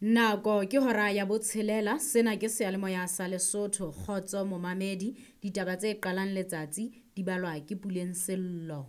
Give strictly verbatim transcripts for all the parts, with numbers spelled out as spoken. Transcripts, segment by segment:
Nako ke hora ya botshelela, sena ke seyalemoya sa Lesotho. Kgotso momamedi, ditaba tse qalang letsatsi di balwa ke Puleng Sello.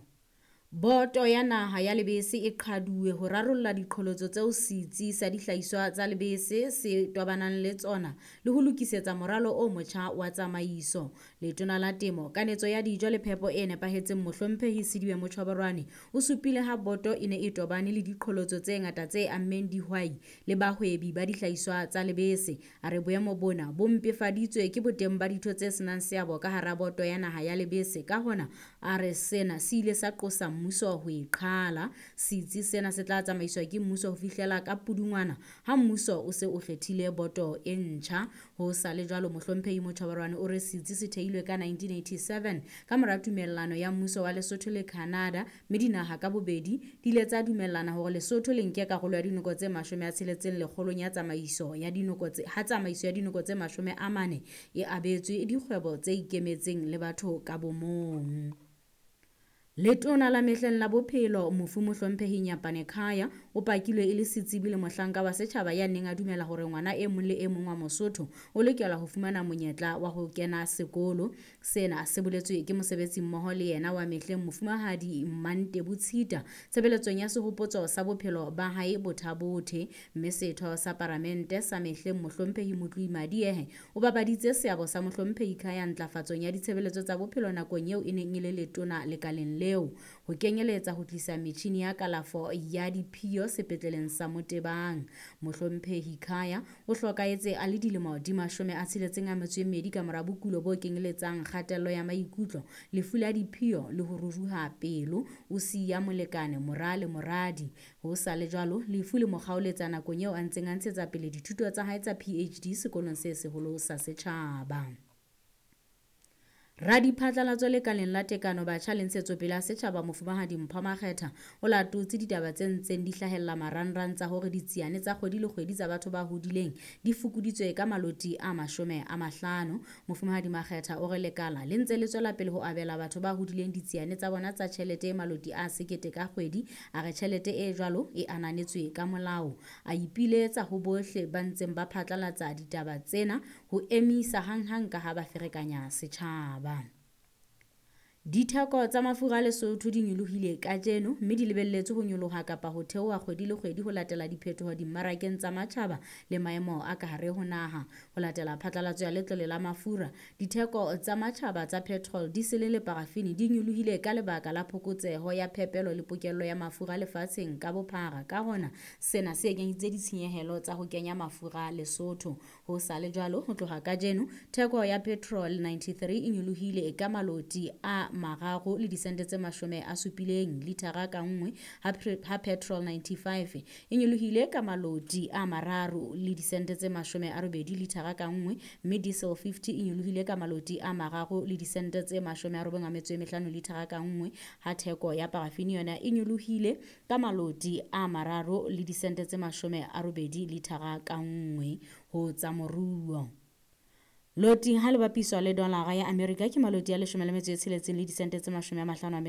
Boto ya naha ya lebese e qhaduwe ho rarolla diqholotso tseo setsi sa dihlahiswa tsa lebese se tobanang le tsona le ho lokisetsa moralo o motjha wa tsamaiso. Letona la Temo, Kanetso ya Dijo le Phepo e Nepahetseng Mohlomphehi Sidibe Motjhoborwane o supile ha boto e ne e tobane le diqholotso tse ngata tse ammeng dihwai le bahwebi ba dihlahiswa tsa lebese. A re boemo bona bo mpefaditswe ke boteng ba ditho tse senang seabo ka hara boto ya naha ya lebese. Ka hona, a re sena se ile sa qosa mmuso ho e qhala. Setsi sena se tla tsamaiswa ke mmuso ho fihlela ka Pudungwana ha mmuso o se o kgethile boto e ntjha. Ho sa le jwalo, Mohlomphehi Motjhoborwane o re setsi se theilwe ka nineteen eighty-seven ka mora tumellano ya mmuso wa Lesotho le Canada, mme dinaha ka bobedi di ile tsa dumellana hore Lesotho le nke karolo ya dinoko tse mashome a tsheletseng lekgolong ya tsamaiso ya dinoko tse, ha tsamaiso ya dinoko tse mashome a mane e abetswe dikgwebo tse ikemetseng le batho ka bomong. Letona la mehleng la bophelo mofu Mohlomphehi Nyapane Khaya o pakilwe e le setsebi le mohlanka wa setjhaba ya neng a dumela hore ngwana e mong le e mong wa Mosotho o lokela ho fumana monyetla wa ho kena sekolo. Sena se boletswe ke mosebetsi mmoho le yena wa mehleng Mofumahadi Mmantebu Tshita tshebeletsong ya sehopotso sa bophelo ba hae Bothabothe. Mme setho sa paramente sa mehleng Mohlomphehi Motloi Madiehe o babaditse seabo sa Mohlomphehi Khaya ntlafatsong ya ditshebeletso tsa bophelo nakong eo e neng e le letona lekaleng leo, ho kenyeletsa ho tlisa metjhini ya kalafo ya diphio sepetleleng sa Motebang. Mohlomphehi Khaya o hlokahetse a le dilemo di mashome a tsheletseng a metso e mmedi ka mora bokulo bo kenyeletsang kgatello ya maikutlo, lefu la diphio le ho ruruha pelo. O siya molekane, mora le moradi. Ho sa le jwalo, lefu le mo kgaoletsa nakong eo a ntseng a ntshetsa pele dithuto tsa hae tsa P H D sekolong se seholo sa setjhaba. Radiphatlalatso lekaleng la tekano batjha le ntshetsopele ya setjhaba Mofumahadi Mpho Makgetha o latotse ditaba tse ntseng di hlahella marangrang tsa hore ditsiane tsa kgwedi le kgwedi tsa batho ba hodileng di fokoditswe ka maloti a mashome a mahlano. Mofumahadi Makgetha o re lekala le ntse le tswela pele ho abela batho ba hodileng ditsiane tsa bona tsa tjhelete e maloti a sekete ka kgwedi. A re tjhelete e jwalo e ananetswe ka molao. A ipiletsa ho bohle ba ntseng ba phatlalatsa ditaba tsena ho emisa hanghang ka ha ba ferekanya setjhaba. Ditheko tsa mafura a Lesotho di nyolohile kajeno mme di lebelletswe ho nyoloha kapa ho theoha kgwedi le kgwedi ho latela diphetoho dimmarakeng tsa matjhaba le maemo a ka hare ho naha. Ho latela phatlalatso ya letlole la mafura, ditheko tsa matjhaba tsa petrol, diesel le parafini di nyolohile ka lebaka la phokotseho ya phepelo le pokello ya mafura lefatsheng ka bophara. Ka hona, sena se ekeditse ditshenyehelo tsa ho kenya mafura Lesotho. Ho sa le jwalo, ho tloha kajeno, theko ya petrol ninety-three e nyolohile ka maloti a mararo le disente tse mashome a supileng lithara ka nngwe, ha pre-, ha petrol ninety-five e nyolohile ka maloti a mararo le disente tse mashome a robedi lithara ka nngwe, mme diesel fifty e nyolohile ka maloti a mararo le disente tse mashome a robong a metso e mehlano lithara ka nngwe, ha theko ya parafini yona e nyolohile ka maloti a mararo le disente tse mashome a robedi lithara ka nngwe. Ho tsa moruo, loti ha le bapiswa le dolara ya Amerika ke maloti a leshome le metso e tsheletseng le disente tse mashome a mahlano a metso